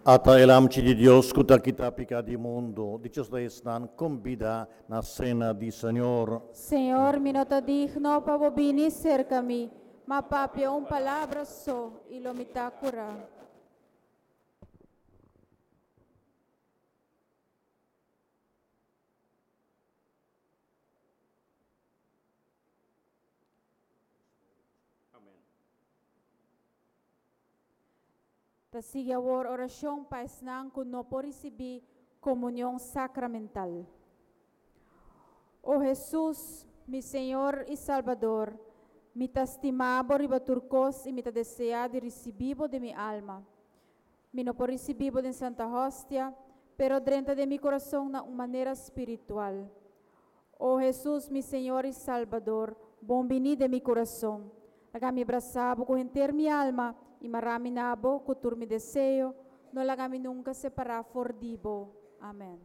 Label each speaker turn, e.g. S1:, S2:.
S1: Ata e Lamchi di Dios ku ta kita piká di mundu. Dichoso ta esnan kombidá na sena di Señor.
S2: Señor, mi no ta digno pa bo bini serka mi, ma papia un palabra so i lo mi ta kurá. Ta sigui awor orashon pa esnan ku no por risibí komunion sakramental. O Hesus, mi Señor i Salbador, mi ta stima bo riba tur kos i mi ta deseá di risibí bo den mi alma. Mi no por risibí bo den Santa Hostia, pero drenta den mi kurason na un manera spiritual. O Hesus, mi Señor i Salbador, bon biní den mi kurason. Laga mi brasa bo ku henter mi alma i mara mi na bo ku tur mi deseo. No laga mi nunka separá for di bo. Amèn.